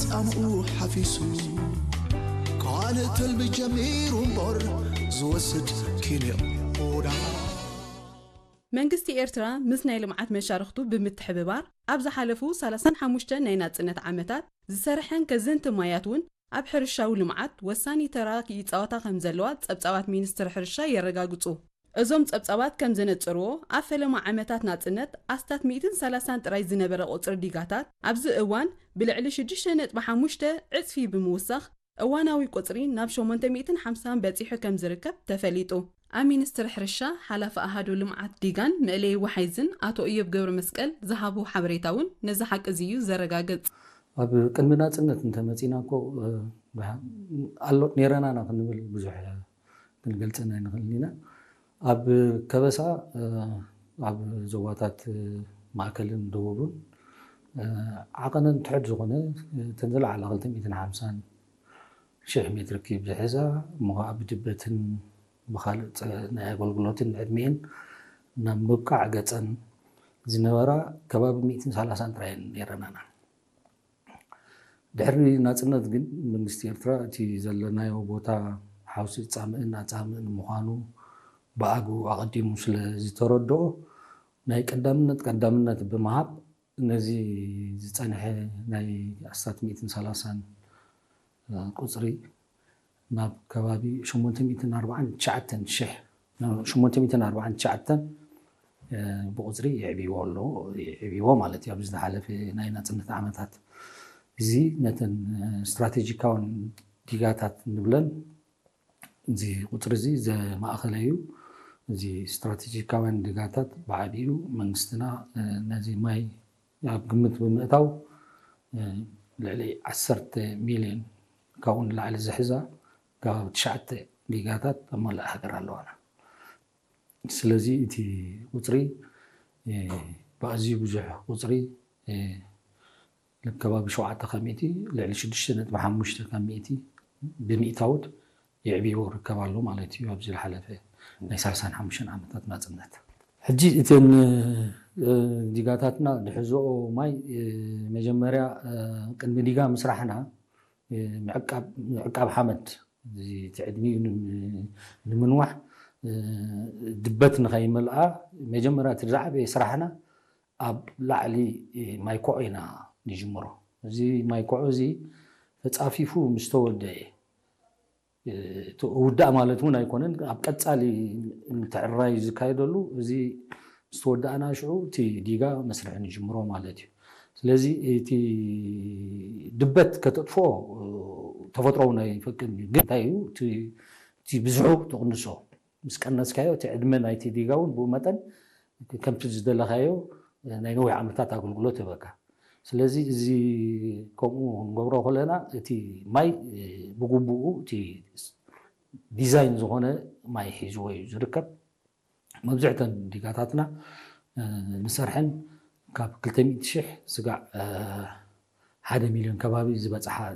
ጻምኡ ሓፊሱ ካልእ ትልሚ ጀሚሩ እምበር ዝወስድ ኪንዮ ቡዳ። መንግስቲ ኤርትራ ምስ ናይ ልምዓት መሻርኽቱ ብምትሕብባር ኣብ ዝሓለፉ ሰላሳን ሓሙሽተን ናይ ናጽነት ዓመታት ዝሰርሐን ከዘንቲ ማያት እውን ኣብ ሕርሻዊ ልምዓት ወሳኒ ተራ ይጻወታ ከም ዘለዋ ጸብጻባት ሚኒስትሪ ሕርሻ የረጋግጹ። እዞም ጸብጻባት ከም ዘነጽርዎ ኣብ ፈለማ ዓመታት ናጽነት ኣስታት ሚእትን ሰላሳን ጥራይ ዝነበረ ቁጽሪ ዲጋታት ኣብዚ እዋን ብልዕሊ ሽዱሽተ ነጥቢ ሓሙሽተ ዕጽፊ ብምውሳኽ እዋናዊ ቁጽሪ ናብ ሸሞንተ ሚእትን ሓምሳን በጺሑ ከም ዝርከብ ተፈሊጡ። ኣብ ሚኒስትሪ ሕርሻ ሓላፊ ኣሃዱ ልምዓት ዲጋን መእለዪ ወሓይዝን ኣቶ እዮብ ገብረ መስቀል ዝሃቦ ሓበሬታ እውን ነዚ ሓቂ እዚ እዩ ዘረጋግጽ። ኣብ ቅድሚ ናጽነት እንተመጺና እኮ ኣሎ ነይረና ኢና ክንብል ብዙሕ ክንገልጸን ኣይንኽእልን ኢና። ኣብ ከበሳ ኣብ ዞባታት ማእከልን ደቡብን ዓቐነን ትሕት ዝኾነ እተን ዝለዓላ ክልተ ሚእትን ሓምሳን ሽሕ ሜትር ኪብ ዝሕዛ እሞ ከዓ ብድበትን ብኻልእ ናይ ኣገልግሎትን ዕድሜን ናብ ምብቃዕ ገጸን ዝነበራ ከባቢ ሚእትን ሰላሳን ጥራየን ነይረናና። ድሕሪ ናጽነት ግን መንግስቲ ኤርትራ እቲ ዘለናዮ ቦታ ሓውሲ ጻምእን ኣጻምእን ምዃኑ ብኣግኡ ኣቐዲሙ ስለ ዝተረድኦ ናይ ቀዳምነት ቀዳምነት ብምሃብ ነዚ ዝጸንሐ ናይ ኣስታት ሚእትን ሰላሳን ቁጽሪ ናብ ከባቢ ሸሞንተ ሚእትን ኣርባዓን ትሽዓተን ሽሕ ሸሞንተ ሚእትን ኣርባዓን ትሽዓተን ብቁፅሪ የዕብይዎ ኣሎ የዕብይዎ ማለት እዩ። ኣብዚ ዝሓለፈ ናይ ናፅነት ዓመታት እዚ ነተን ስትራቴጂካውን ዲጋታት ንብለን እዚ ቁፅሪ እዚ ዘማእኸለ እዩ። እዚ ስትራቴጂካውያን ዲጋታት ብዓቢኡ መንግስትና ነዚ ማይ ኣብ ግምት ብምእታው ልዕሊ ዓሰርተ ሚልዮን ካብኡ ንላዕሊ ዝሕዛ ከባቢ ትሽዓተ ጊጋታት ኣብ መላእ ሃገር ኣለዋና። ስለዚ እቲ ቁፅሪ ብኣዝዩ ብዙሕ ቁፅሪ ከባቢ ሸውዓተ ካብ ሚእቲ ልዕሊ ሽዱሽተ ነጥቢ ሓሙሽተ ካብ ሚእቲ ብሚእታውት የዕብይዎ ይርከብ ኣሎ ማለት እዩ። ኣብዚ ዝሓለፈ ናይ ሰላሳን ሓሙሽተን ዓመታት ናፅነት ሕጂ እተን ዲጋታትና ዝሕዝኦ ማይ መጀመርያ ቅድሚ ዲጋ ምስራሕና ምዕቃብ ሓመድ እቲ ዕድሚኡ ንምንዋሕ ድበት ንኸይመልኣ መጀመርያ እቲ ዝዓበየ ስራሕና ኣብ ላዕሊ ማይ ኮዖ ኢና ንጅምሮ። እዚ ማይ ኮዖ እዚ ተፃፊፉ ምስ ተወደአ ውዳእ ማለት እውን ኣይኮነን። ኣብ ቀፃሊ ምትዕርራይ ዝካየደሉ እዚ ዝተወዳእና ሽዑ እቲ ዲጋ መስርሒ ንጅምሮ ማለት እዩ። ስለዚ እቲ ድበት ከተጥፍኦ ተፈጥሮ እውን ኣይፈቅድን እዩ። ግን እንታይ እዩ እቲ ብዝሑ ትቕንሶ ምስ ቀነስካዮ እቲ ዕድመ ናይቲ ዲጋ እውን ብኡ መጠን ከምቲ ዝደለኻዮ ናይ ነዊሕ ዓመታት ኣገልግሎት ይህበካ። ስለዚ እዚ ከምኡ ክንገብሮ ከለና እቲ ማይ ብግቡኡ እቲ ዲዛይን ዝኾነ ማይ ሒዝዎ እዩ ዝርከብ። መብዝሕተን ዲጋታትና ንሰርሐን ካብ ክልተ ሚእቲ ሽሕ ስጋዕ ሓደ ሚልዮን ከባቢ ዝበፅሓ